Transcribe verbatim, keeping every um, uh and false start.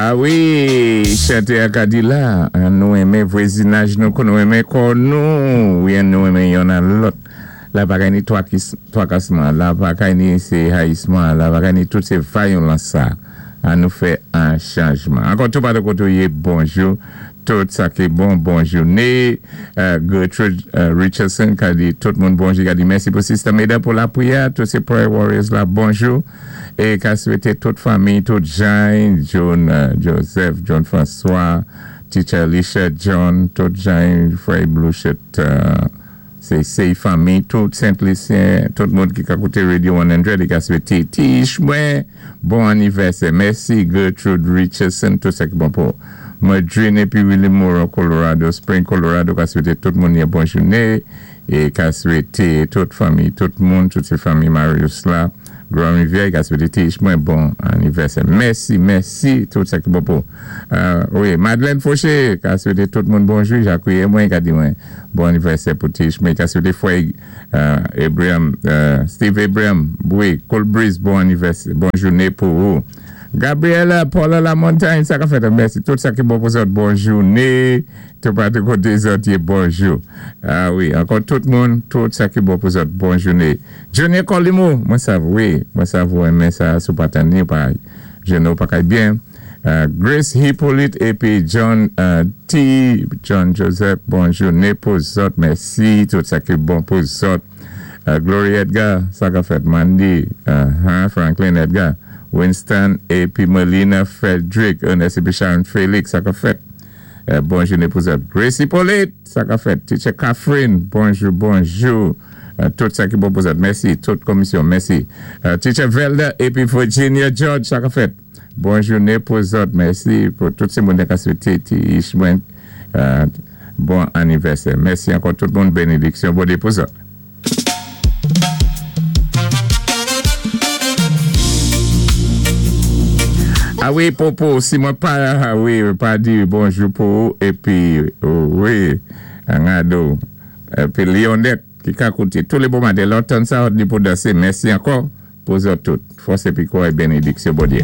A wi, chanté a ka di la, an nou enmen vwazinaj nou, kon nou enmen kò nou, wi an nou enmen yonn an lòt. La pa kay ni twakasman, la pa kay ni sé hayisman, la pa kay ni tout sé vyolans sa. An nou fè an chanjman. Ankò tou patou koté ou yé, bonjou. Tout sa ki bon, bon jouné. Gertrude Richardson ka di tout moun bonjou, ka di mèsi pou Sister Meda pou lapwiyè. Tout sé Prayer Warriors la, bonjou. É ka swété tout fanmi, tout Jean, John Joseph, John François, Teacher Alicia, John, tout Jean, Frey Blue Shirt, sé sé fanmi, tout Saint-Lucien, tout moun ki ka kouté Radio cent, li ka swété Tish mwen, bon anivèsè. Mèsi Gertrude Richardson, tout sa ki bon pou Madrine épi Willie Moore, Colorado Spring, Colorado, ka swété tout moun yon bon jouné, é ka swété tout fanmi, tout moun, tout sé fanmi Marius la, Grand Rivière, ka swété Tish mwen bon anivèsè. Mèsi, mèsi, tout sa ki bon pou. Wi, Madeleine Fauché, ka swété tout moun bonjou, Jacques mwen, ka di mwen bon anivèsè pou Tish mwen, ka swété Frè Abraham, Steve Abraham, wi, Cold Breeze, bon anivèsè, bon jouné pou ou. Gabriela, Paula La Montagne, sa ka fèt, mèsi, tout sa ki bon pou zòt, bon jouné, tout patou koté zòt yé bonjou. A wi, ankò tout moun, tout sa ki bon pou zòt, bon jouné. Johnny Colimo, mwen sav, wi, mwen sav ou enmen sa sou patani, pa, jenou pa kay byen. Grace Hippolyte épi John T, John Joseph, bon jouné pou zòt, mèsi, tout sa ki bon pou zòt. Gloria Edgar, sa ka fèt, Mandy, Franklin Edgar, Winston épi Melina Frederick, Ernest épi Sharon Felix, sa ka fèt. Bon jouné pou zòt. Grace Hippolyte, sa ka fèt. Teacher Catherine, bonjou, bonjou. Tout sa ki bon pou zòt. Mèsi, tout komisyon, mèsi. Teacher Velda épi Virginia George, sa ka fèt. Bon jouné pou zòt, mèsi pou tout sé moun ka swété ti mwen bon anivèsè. Mèsi ankò tout moun, bénédiksyon Bondyé pou zòt. A wi, Popo, si mwen pa, a wi, pa di bonjou pou ou, épi, wi, Ngado, épi Lionette, ki ka kouté tou lé bon maten, lò tann sa, ni pou dansé, mèsi ankò pou zòt tout. Fòs épi kouray, bénédiksyon Bondyé.